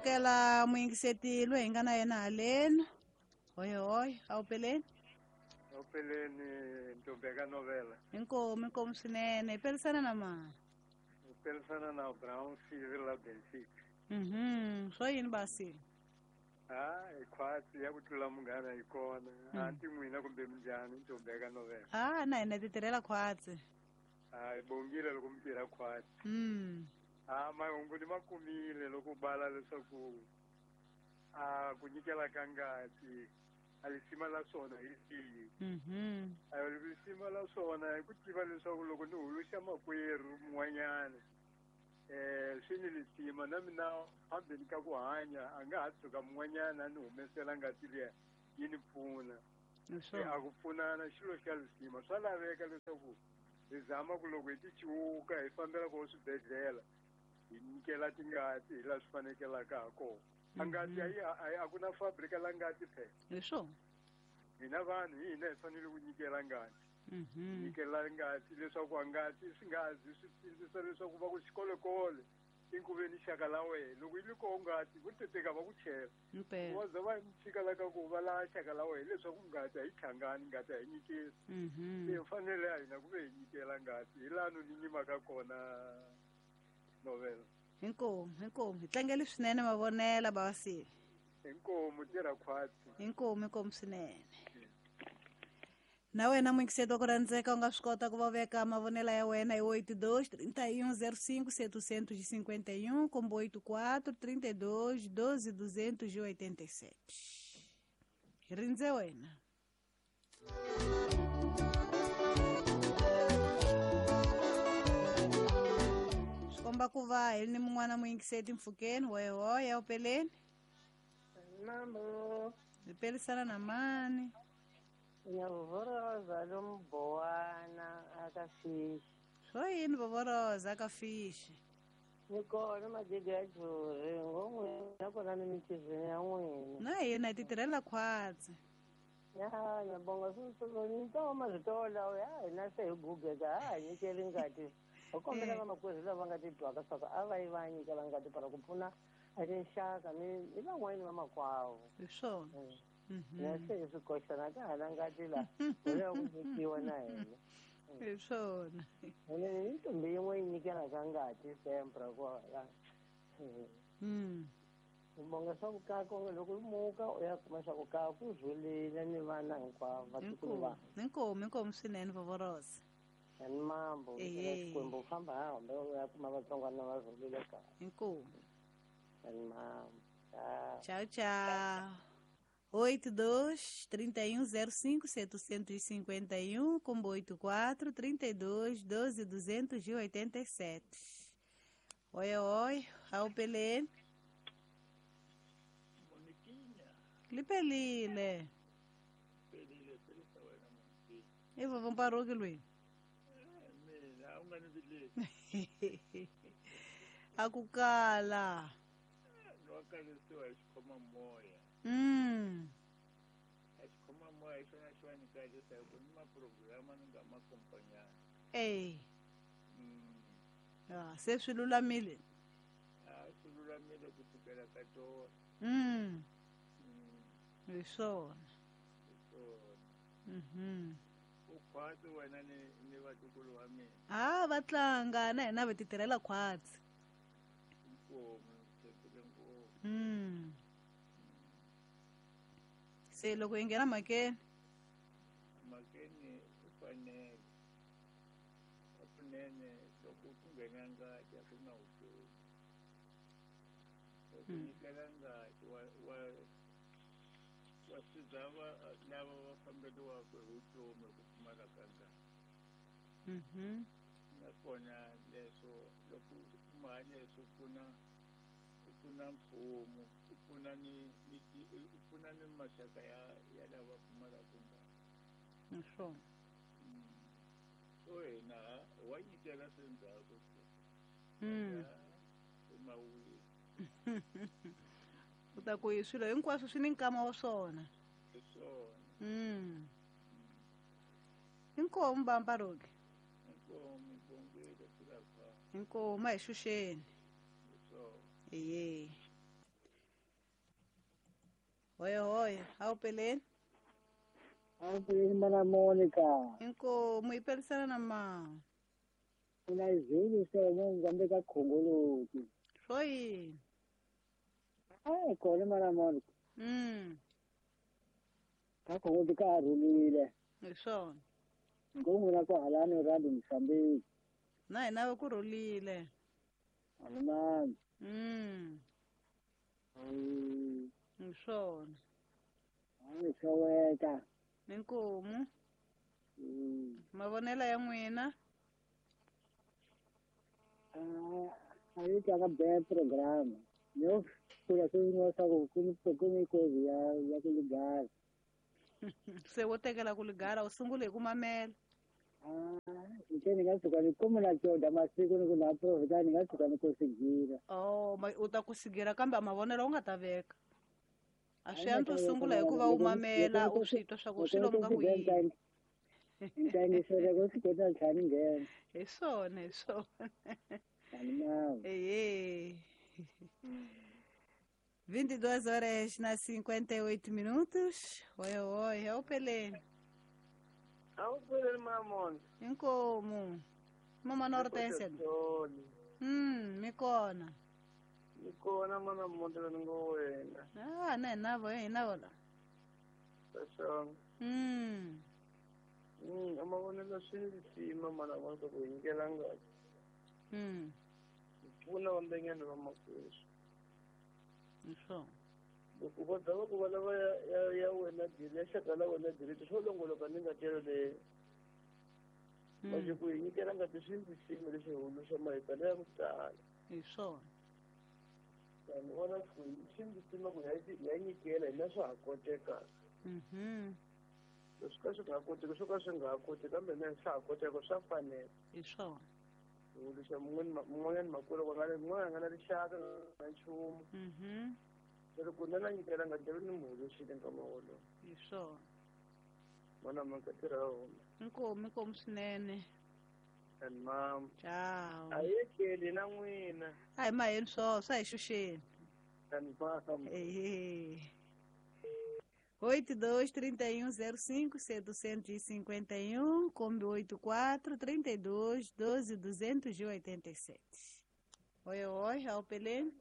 Amukela muyingiseti loyi hi nga na yena haleni. Hoyi hoyi, a wu peleni? A wu peleni Ntombeka Novela. Inkomu, inkomu swinene. Hi pelisana na mani? Hi pelisana na Brown Civil la Benfica. Swo yini basi? Ha, hi khwatsi ya ku tlula munghana yi kona. A ti n'wina kumbe minjhani Ntombeka Novela? Ah, na hina ti tirhela khwatsi. Ha, hi bongile loko mi tirha khwatsi. Ha, mahungu ni ma kumile loko u bala leswaku a ku nyikela ka ngati a lisima la swona hi rihi. A lisima la swona hi ku tiva leswaku loko ni huluxa makwerhu mun'wanyana swi ni lisima na mina phambeni ka ku hanya a nga ha tshuka mun'wanyana a ni humesela ngati liya yi ni pfuna. A ku pfunana xilo xa lisima swa laveka leswaku hi zama ku loko hi ti ciwuka hi fambela ko swibedhlele hi nyikela tingati hi laha swi fanekelaka ha kona. A ngati a ku na fabrika la ngati phela. Hi swona. Hina vanhu hi hina hi fanele ku nyikela ngati. Nyikela ngati leswaku a ngati swi nga zi swi sindzisa leswaku va ku xikolekole inkuveni xaka la wena loko yi ri koho ngati vo teteka va ku chela. Wa za va tshika la ka ku va la xaka la wena leswaku ngati a yi tlhangani ngati a yi nyikeli. Se fanele a hina ku ve hi nyikela ngati hi laha ni nyimaka kona Novela. Inkomu, inkomu. Hi tlangele swinene mavonela bavasile. Inkomu tirha khwatsi. Inkomu, inkomu swinene. Na wena muyingiseti wa ku rhandzeka u nga swi kota ku va veka mavonela ya wena hi 82 31 05 751 kumbe 84 32 12 287. Hi rindze wena. Swi komba ku va hi ni mun'wana muyingiseti mpfhukeni. Hoyi hoyi, a wu peleni? Mambo. Hi pelisana na mani? Nyavhoroza lomubowana aka fishi. Swo yini vovoroza aka fishi? Ni kona magege ya juri ngo n'wina kona ni mitizweni ya n'wina. Na hina hi ti tirhela khwatsi. Ya, ngiyabonga ni to mazito lawa ya hina se hi gugeka ha hi nyikeli ngati. Hi kombela vamakwerhu lava nga titwaka swa ku a va yi va nyikela ngati para ku pfuna a tinxaka ni van'wani vamakwavo. Hi swona. Na se hi swi koxana ka ha na ngati la hi lava ku nyikiwa na hina. Hi swona. Ene ni ntombi yin'we yi nyikelaka ngati sempre kwala. Bonga swa ku kaka onge loko u muka u ya kuma swa ku kaka ku rhulile ni vana hinkwavo vatukulu va. Inkomu, inkomu swinene vovorosa. Ni mambo, Xikwembu u famba hambe u ya kuma vatsongwana va rhulile kaya. Inkomu. Ni mambo. Tchau, tchau. 82 31 05 751 combo 84 32 12 287. Oi, oi, ao Pelé. Lipelile. E vou vamos parou que Luiz. Akukala. Ei. Ah, se swi lulamile. Swi lulamile ku sukela ka tona. Hi swona. Hi swona. U khwatsi wena ni vatukulu wa mina. Ah, va tlanga na hina va ti tirhela khwatsi. Inkomu, tshembile ngopfu. Se loko hi nghena mhakeni. Mhakeni u fanele. Kunene loko ku nghena ngati a ku na vutomi. Loko nyikela ngati wa siza lava va famberiwaka hi vutomi ku pfumala ka ngati. Nakona leswo loko u kuma leswo u pfuna mfumo, u pfuna ni u pfuna ni maxaka ya lava pfumalaka ngati. Hi swona. So hina wa nyikela swi ndzhaku. Mawini. U ta ku swilo hinkwaswo swi ni nkama wa swona. Hi swona. Inkomu Bamparoki. Inkomu ibongile kulapha. Inkomu a hi xuxeni. Hi swona. Eye. Hoya hoya, a wu peleni? A wu peleni mana Monica. Inkomu yi pelisana na ma. Mina izulu sona ngikambe ka khongoloti. Swo yini? Ai kona mana Monica. Ka khongoloti ka rhulile. Hi swona. Ngomuna ko halani randi msambiki. Na hina ku rhulile. Amen. Hi swona. Ani xoweka. Inkomu. Mavonelo ya n'wina? A yi tlanga bad program. Yo kula swin'wana swa ku ku ni kozi ya ku ligara. Se wo tekela ku ligara u sungule hi ku mamela. Ni nga tshuka ni kuma na coda masiku ni ku na profita ni nga tshuka ni ku sigira. Oh, u ta ku sigira kambe mavonelo u nga ta veka. A swi antswa u sungula hikuva u mamela u swi twa swa ku swi lomu ka ku yini. Ntangisele ku swi kota ntlhanu nghena. Hi swona, hi swona. Ehe. 22 horas na 58 minutos. Oi, oi, é o Pelé. É o Pelé, mamãe. Inkomu. Mama Nortense. Me kona. Me kona mana mondela ngowena. Ah, na navo, eh, navo la. Tasong. Amavonelo swi mana vantu ku nyikela ngati. Pfuna vambenyana va makweswi. So. Loko va zama ku va lava ya wena diri ya xaka la wena diri swo longoloka ni ngati yeleyo. Manje ku hi nyikela ngati swi ndzi lexi huluxa mahipela ya ku tala. Hi swona. Ni vona ku swi ndzi ku ya nyikela hina swa ha koteka. Leswi ka swi nga koteki swo ka swi nga ha koteki kambe na swa ha koteka swa fanela. Hi swona. Huluxa mun'wanyana makwerhu va nga mun'wana a nga na rixaka na nchumu. Loko ku na nyikela ngati ni mu huluxile nkama wolowo. Hi swona. Mana mhaka tirha huma. Inkomu, inkomu swinene. And ma'am. Ciao. A yi keli na n'wina. A hi maheni swo swa hi xuxeni. And ma'am. Ehe. 82 31 05 751, Kombi 84 32 12 287. Oi, oi, ao Pelé.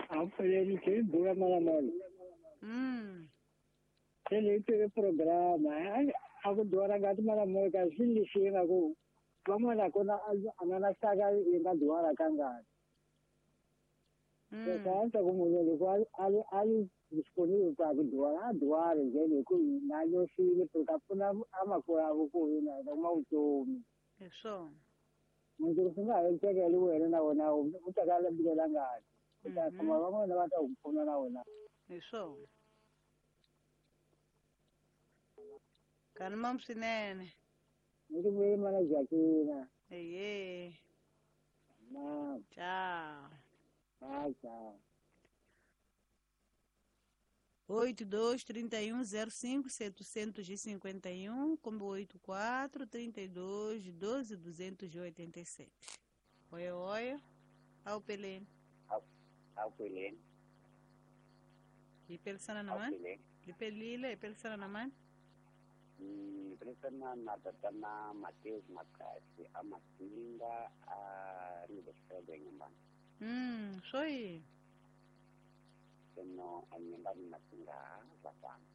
Ao Pelé, que dura malamole. Ele teve programa, a ku dora ngati malamole ka swi lexi ku van'wana kona a nga na xaka yi nga dwala ka ngati. Sasa ku munhu loko a li disponible pa ku dwala a dwale njhani hi ku na nyoxile ku ta pfuna amakwavo ku hina hi kuma vutomi. Hi swona. Munhu swi nga ha endlekeli wena na wena u ta ka lembelela ngati. U ta kuma van'wana va ta ku pfuna na wena. Hi swona. Kani mam swinene. Ni ku vuye mana Jacqueline. Ehe. Mam. Tchau. Tchau. 82 31 05 751, combo 84 32 12 287. Oi, oi. Ao Pelé. Ao Pelé. E pelisana na mãe? E pelile, e pelisana na mãe? Pelisana na tatana Mateus Makasi, a Matinga, a Rio de Janeiro. Soi. Sono anyembani Matinga vatana.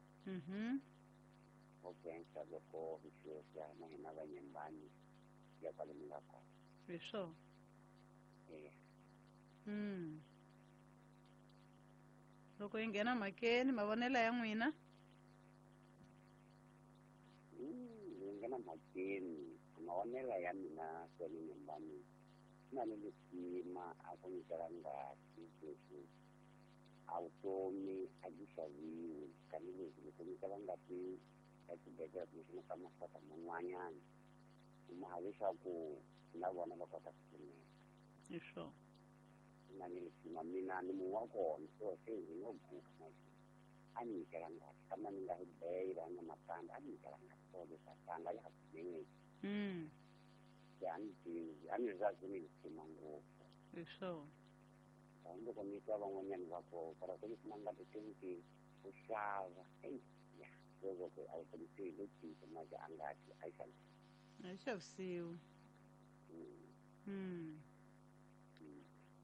Okensa loko visuosia na hina vanyembani ya kwale mi nga kona. Hi swona. Loko yi nghena mhakeni mavonelo ya n'wina? Yi nghena mhakeni mavonelo ya mina kwale nyembani na ni lisima a ku nyikela ngati leswi a vutomi a byi xaviwi tanihileswi loko nyikela ngati ka xibedhlele kumbexana ka maxaka man'wanyana kuma leswaku na vona va kota ku pfuneka. Hi swona. Na ni lisima mina ni munhu wa kona so se ndzi ngo guga manje a ni nyikela ngati kambe ni nga hi beyila na matandza a ni nyikela ngati so leswi a tanga ya ha pfumeleki. Ya ni tivi a ni zazi ni lisima ngopfu. Hi swona. Loko ni twa van'wanyana va ku para ku kuma ngati tinki ku xava ya loko a wu kumisi lo cinca mali a ngati a yi xavisiwi. A yi xavisiwi.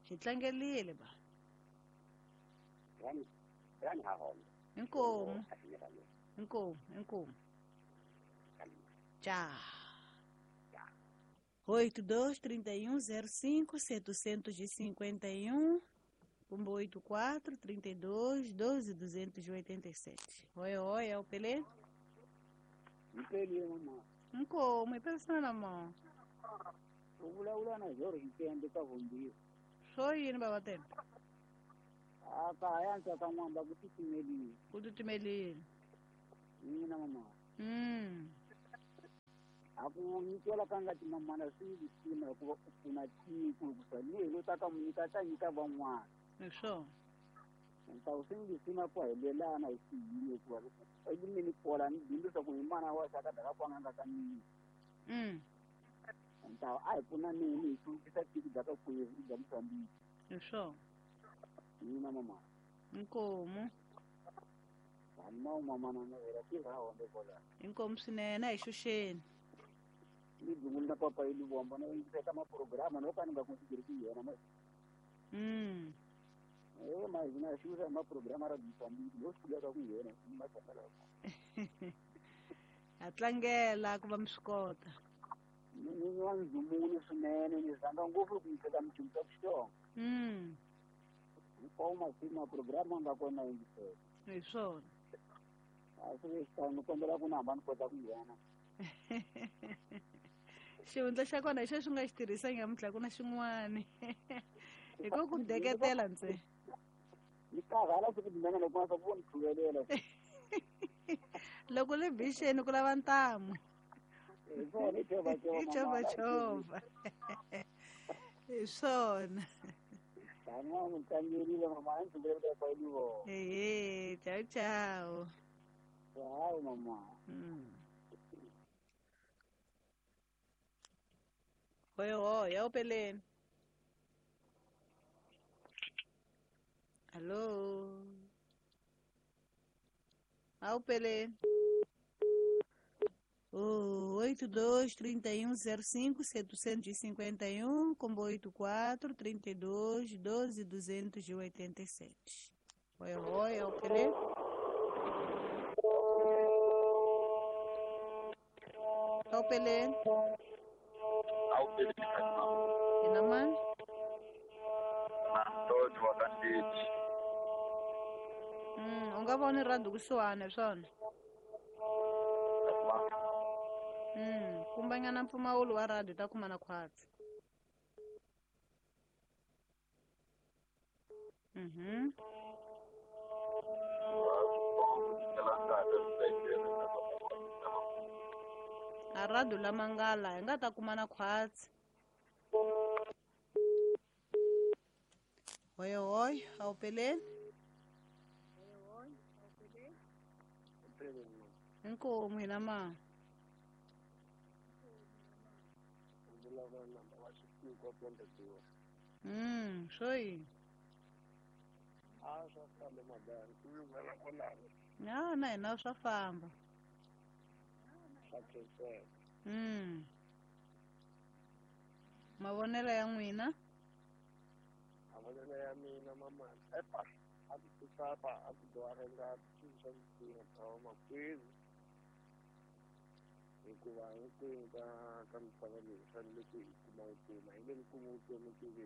Hi tlangelile ba. Rani ha hona. Inkomu. Inkomu, inkomu. Tchau. 82 31 05 751 84 32 12 287. Oi, oi, é o Pelé? Mpele mama. Nkomu, ipesana na mão. U vulavula na George Ntembe ka Vumbiwa. Swo yini baba Tembe? A ka ya ntsaka n'wamba ku titimelile. Ku titimelile. Mina mama. A ku nyikela ka ngati mamana swi lisima hikuva u pfuna tiko hikuva ni lo ta ka mu nyika ta nyika van'wana. Hi swona. Ntawu swi lisima ku helelana hi xiyimo hikuva elimini kola ni dyondzisa ku hi mana wa xaka daka kwanga nga ka mina. Ntawu a hi pfuna nini hi hluvukisa tiko bya ka kwevu bya Mozambique. Hi swona. Mina mama. Inkomu. Mama mama na vera tirha honde kola. Inkomu swinene a hi xuxeni. Ni dzungula na papa yi Luvombo na yingiseka maprograma no ka ni nga consideri ku yena ma. Ma hina xuxa maprograma ra Mozambique lo swi ka ku yena ma tsakela. Ha tlangela ku va mi swi kota. Ni wa ndzumuni swinene ni rhandza ngopfu ku yingisela midyondzo ya Xitsonga. Hinkwawo masiku maprograma nga kona yingisela. Hi swona. A swi xitano ni kombela ku na hamba ni kota ku nghena. Xihundla xa kona hi xo xi nga xi tirhisa nyamuntlha ku na xin'wani. Hi ku ku deketela ntsena. Ni karhala siku dinene loko nga ku ni tlhuvelela. Loko le bixeni ku lava ntamu. Hi swona i chovachova. I chovachova. Hi swona. Taniwa mi tlangerile mama a ndzi vulavula kwa Luvombo. Ehe, ciao ciao. Ciao mama. Oi, oi, é o Pelé. Alô? Ao Pelé. 82 31 05 751 combo 84 32 12 287. Oi, oi, é o Pelé. Ao Pelé. Ao Pelé. Ina mani? Todd wa ka Ndeti. U nga voni rhandi kusuhani swona. Kumbanyana mpfumawulo wa rhandi ta kuma na khwatsi. A rhandi lama nga la hi nga ta kuma na khwatsi. Oi, oi, ao Pelé. Inkomu hina ma. Swo yini? A swa famba madani, ku yunghela kwalano. Ya na hina swa famba. Swa khenseka. Mavonelo ya n'wina? Mavonelo ya mina mama, epa a ku tisapa a ku dwara ngati swilo swa misinya bya makwerhu. Hikuva hinkwenu ka misava leyi hi fanele ku hi kuma vutomi, a hi nge kumi vutomi ku ve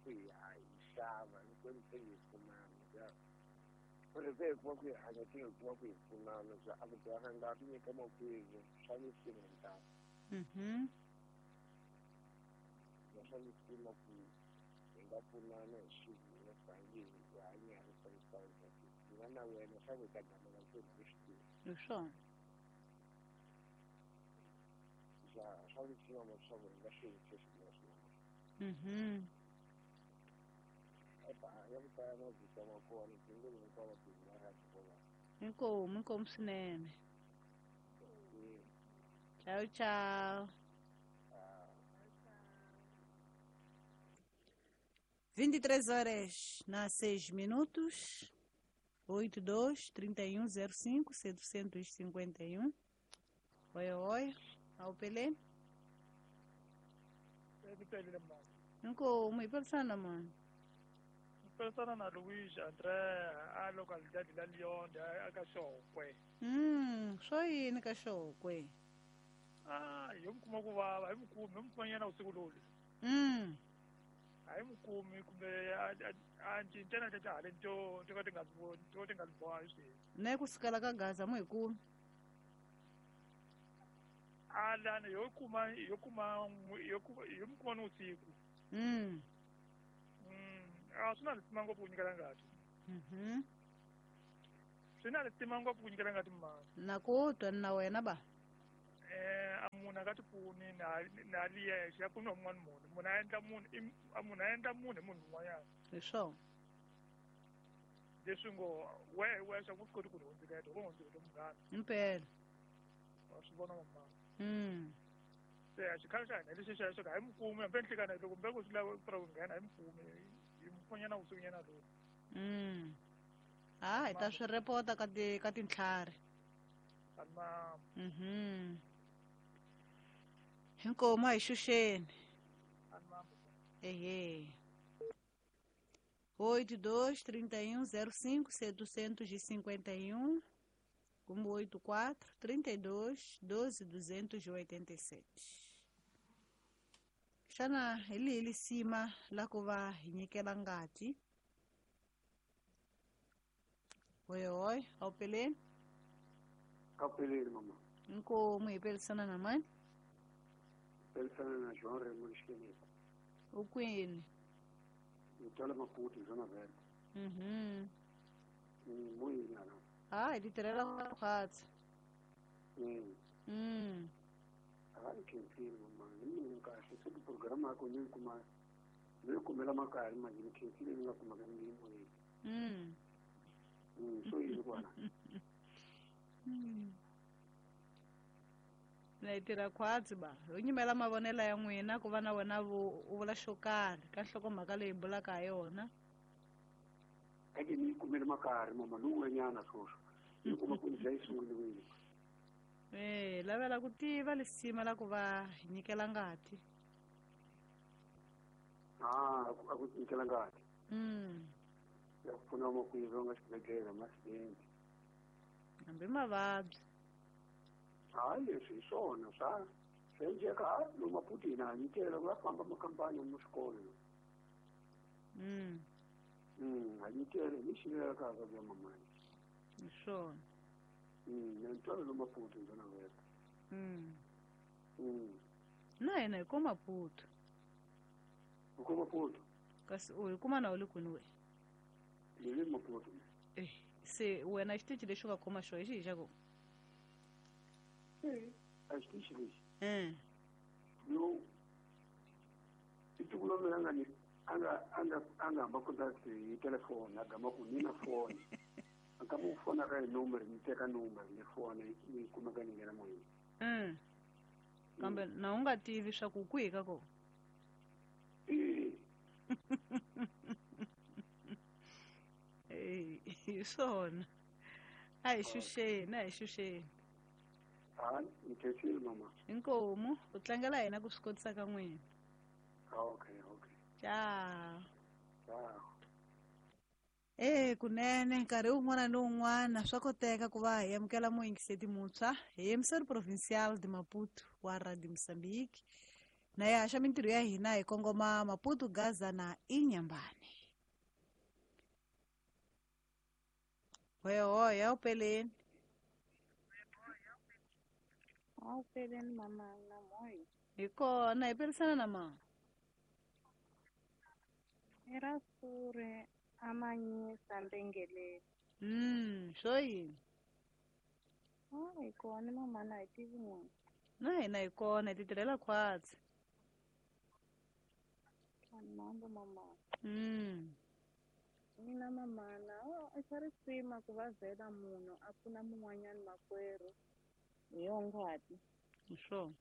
ku hi xava hinkwenu se hi pfunana bya ri se hi kuma ku hi hanya se hi kuma ku hi pfunana bya a ku dwara ngati nyika makwerhu swa misinya hinkwaswo. Swa misinya ku hi nga pfunana hi xivina tanihi hi hanya hi swa misava mina na wena swa ku hi ta gamela ntsena hi swi tivi. Hi swona. Swa misinya leswaku hi nga swi yisa swinene swinene. Ya ku tala mavito ma kona tinguva hinkwavo va rhandza kwalano. Inkomu, inkomu swinene. Ciao ciao. 23 horas na 6 minutos. 82 31 05 751. Oi, oi. Ao Pelé. Nko mo ipelisana mani. Ipelisana na Luis André a localidade la Lyon a ka Xokwe. Swo yini ka Xokwe? Ah, yo mukuma ku vava, hi mukumi, mukuma usiku lolu. Hayi mukumi kumbe a cincana ta hale to to ka ti nga to ti nga boha swi. Ne ku sukela ka Gaza mo hi kumi. Alana yo kuma yo kuma yo yo mukuma no usiku. A swi na lisima ngopfu ku nyikela ngati. Swi na lisima ngopfu ku nyikela ngati mama. Na ku twa na wena ba. A munhu a nga ti pfuni na li yexe ya pfuniwa un'wana munhu. Munhu a endla munhu a munhu a endla munhu hi munhu un'wanyana. Hi swona. Leswi ngo wehe wexe a ku swi koti ku ri hundzuketa u hundzuketa munghana. Impela. Wa swi vona mama. Se a xikhale xa hina lexi xa xo ka hi mukumi hambi nhlikana loko kumbe ku swi lava ku nghena hi mukumi hi mupfunyana vusikunyana lowu. Ah, hi ta swi repota ka ti ka tintlhari. Mama. Inkomo a hi xuxeni. Ehe. 82 31 05 751 como 84 32 12 287. Xana hi lihi lisima la ku va hi nyikela ngati? Oi, oi, ao Pelé. Ao Pelé, mama. Inkomo hi pelisana na mani? Pelisana na João Raimundo Esqueneta. U kwini? Ni Maputo, Zona Verde. Moyini ala. Ah, hi ti tirhela khwatsi. Hayi khensile mama, hi mina kahle se ti-program ya kona ni kuma ni kumela makaya manje ni khensile ni nga kumaka ni moyeni. So yini kwana? Na hi tirha khwatsi ba. Ho nyimela mavonelo ya n'wina ku va na wena u vula xo karhi ka nhlokomhaka leyi bulaka ha yona. Ake ni kumele makari mama luwanyana swoswo. Ni kuma ku ndzi sunguriwile. Lavela ku tiva lisima la ku va hi nyikela ngati. Ah, a ku nyikela ngati. Ya ku pfuna makwerhu nga xibedhlele ma-accident. Hambi mavabyi. Hayi leswi hi swona swa swi endleka lomu Maputo hina ha nyikela ku va famba makampani mu swikolo. Ha nyikela hi xilela ka ka mamani. Hi swona. Na ntwalo lomu Maputo ndzona wena. Na hina hi ko Maputo. U ko Maputo? Kasi u hi kuma na u le kwini we? Ni le Maputo. Se wena xitichi lexi u nga khoma xona hi xihi xa kona? A xitichi lexi. Yo i tiko lomu nga ni anga hamba contact hi telefoni a gama ku ni na foni. A ka mu fona ka hi number ni teka number ni fona ni kumeka ni nghena moyeni. Kambe na u nga tivi swa ku kwihi ka kona? Hi swona. A hi xuxeni, a hi xuxeni. Hayi, ni khensile mama. Inkomu, u tlangela hina ku swi kotisa ka n'wina. Okay, okay. Ciao. Ciao. Kunene nkarhi wun'wana ni wun'wana swa koteka ku va hi amukela muyingiseti muntshwa hi emissary provincial de Maputo wa Radio Mozambique. Na ya haxa mintirho ya hina hi kongoma Maputo, Gaza na Inhambane. Oi, oi, Pelé. Ao Pelé mama na moi. Hi kona hi pelisana na mama. Era sure amanyisa ndengeleni. Swo yini? Ah, hi kona mama na hi tivi n'wina. Na hina hi kona hi ti tirhela khwatsi. Mambo mama. Mina mama na i swa risima ku va vhela munhu a pfuna mun'wanyana makwerhu hi yo ngati. Hi swona.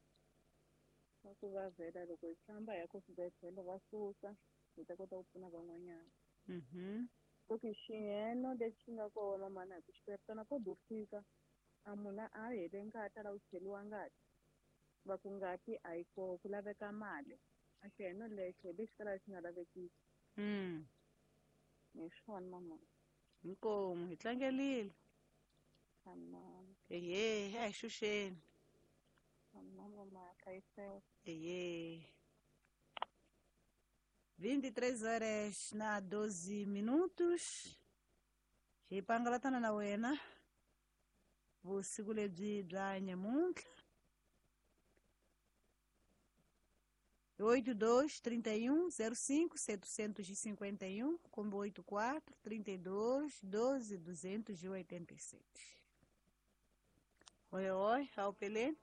Swa ku va vhela loko hi famba hi ya ku swibedhlele va susa. Hi ta kota ku pfuna van'wanyana. So ki xiyeno lexi nga kona mana hi ku xiperitana ko do fika a munhu a hele ngati a lava ku cheliwa ngati va ku ngati a yi koho ku laveka mali a xiyeno lexo hi lexi kalaka xi nga lavekiki. Hi swona mama. Inkomu hi tlangelile. Ehe, a hi xuxeni. Mama, hlayiseka. Ehe. 23 horas na 12 minutos. Hi pangalatana na wena vusiku lebyi bya nyamuntlha. 82 31 05 751 combo 84 32 12 287. Oi, oi, ao Pelé.